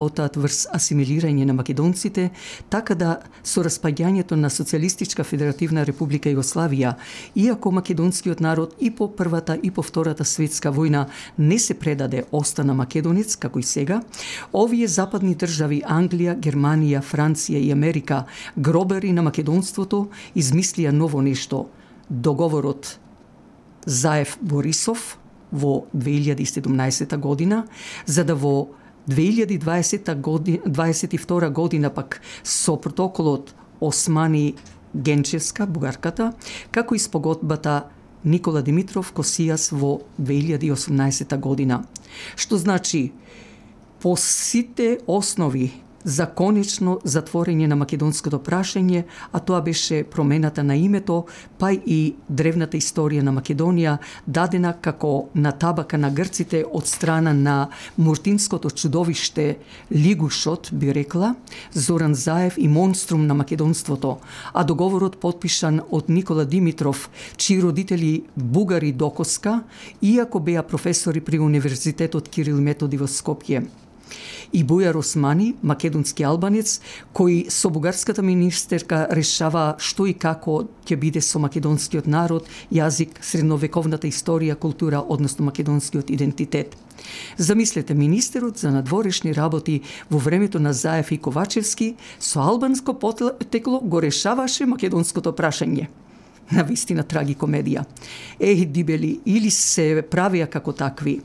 отат врз асимилирање на македонците, така да со распаѓањето на Социјалистичка Федеративна Република Југославија, иако македонскиот народ и по првата и по втората светска војна не се предаде, остана македонец, како и сега, овие западни држави Англија, Германија, Франција и Америка, гробари на македонството, измислија ново нешто, договорот Заев-Борисов во 2017 година, за да во 2022 година пак со протоколот Османи-Генчевска, бугарката, како и спогодбата Никола Димитров-Косијас во 2018 година. Што значи, по сите основи за конечно затворење на македонското прашање, а тоа беше промената на името, па и древната историја на Македонија, дадена како на табака на грците од страна на муртинското чудовиште Лигушот, би рекла, Зоран Заев и монструм на македонството, а договорот подпишан од Никола Димитров, чии родители бугари докоска, иако беа професори при Универзитетот Кирил и Методи во Скопје. И Бујар Османи, македонски албанец, кој со бугарската министерка решава што и како ќе биде со македонскиот народ, јазик, средновековната историја, култура, односно македонскиот идентитет. Замислете, министерот за надворешни работи во времето на Заев и Ковачевски со албанско потекло го решаваше македонското прашање. На вистина трагикомедија. Дибели, или се правија како такви.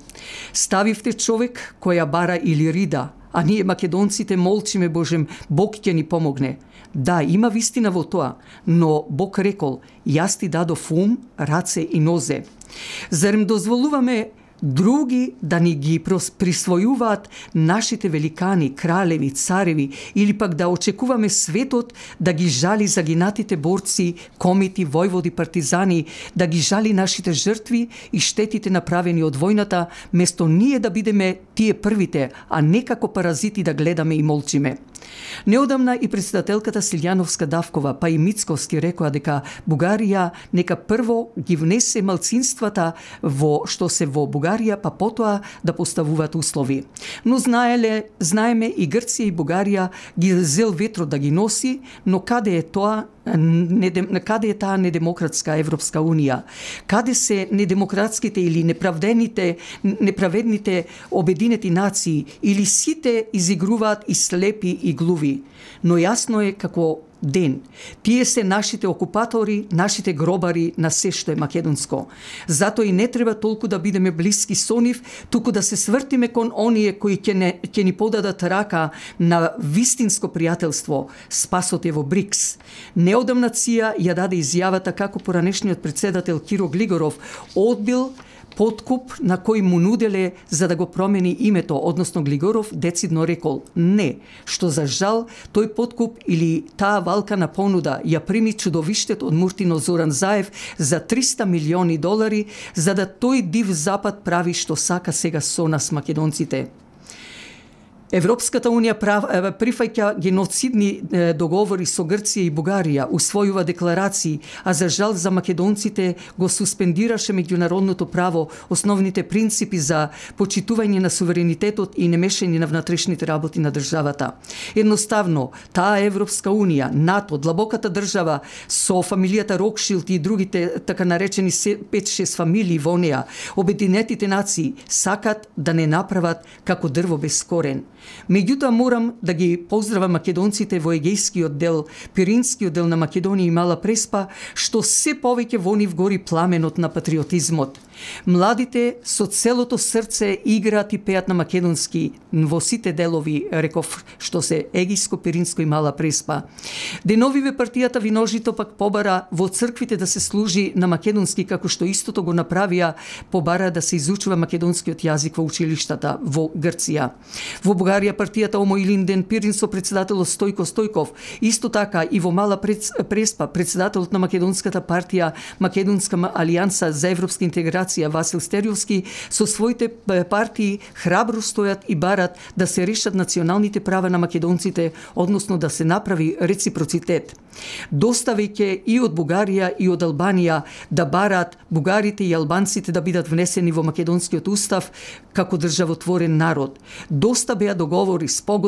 Ставивте човек која бара или рида, а ние македонците молчиме, Божем, Бог ќе ни помогне. Да, има вистина во тоа, но Бог рекол, јас ти дадов ум, раце и нозе. Зарем дозволуваме други да ни ги присвојуваат нашите великани, кралеви, цареви, или пак да очекуваме светот да ги жали загинатите борци, комити, војводи, партизани, да ги жали нашите жртви и штетите направени од војната, место ние да бидеме тие првите, а не како паразити да гледаме и молчиме. Неодамна и председателката Силјановска-Давкова, па и Мицковски рекоа дека Бугарија нека прво ги внесе малцинствата што се во Бугарија, па потоа да поставуваат услови. Но знаеме и Грција и Бугарија ги зел ветро да ги носи, но каде е тоа? Каде е таа недемократска Европска Унија? Каде се недемократските или неправедните обединети нации, или сите изигруваат и слепи и глуви? Но јасно е како ден. Тие се нашите окупатори, нашите гробари на се што е македонско. Зато и не треба толку да бидеме блиски со нив, туку да се свртиме кон оние кои ќе ни подадат рака на вистинско пријателство. Спасот е во БРИКС. Неодамна ЦИА ја даде изјавата како поранешниот председател Киро Глигоров одбил подкуп на кој му нуделе за да го промени името, односно Глигоров децидно рекол не, што за жал тој подкуп или таа валкана понуда ја прими чудовиштет од Муртино Зоран Заев за $300 милиони, за да тој див запад прави што сака сега со нас македонците. Европската Унија прифаќа геноцидни договори со Грција и Бугарија, усвојува декларации, а за жал за македонците го суспендираше меѓународното право, основните принципи за почитување на суверенитетот и немешање на внатрешните работи на државата. Едноставно, таа Европска Унија, НАТО, длабоката држава со фамилијата Рокшилд и другите така наречени 5-6 фамилии во неа, Обединетите нации сакат да не направат како дрво без корен. Меѓутоа морам да ги поздравам македонците во Егејскиот дел, Пиринскиот дел на Македонија и Мала Преспа, што се повеќе во нив гори пламенот на патриотизмот. Младите со целото срце играат и пеат на македонски во сите делови, реков, што се Егејско, Пиринско и Мала Преспа. Деновиве партијата Виножито пак побара во црквите да се служи на македонски, како што истото го направија, побара да се изучува македонскиот јазик во училиштата во Грција. Во Бугарија партијата Омо Илинден Пирин со председателот Стојко Стојков, исто така и во Мала Преспа председателот на македонската партија Македонска алијанса за европска интеграција федерација Васил Стериовски со своите партии храбро стојат и барат да се решат националните права на македонците, односно да се направи реципроцитет. Доставајќи и од Бугарија и од Албанија да барат бугарите и албанците да бидат внесени во македонскиот устав како државотворен народ. Доста беа договори, спогодби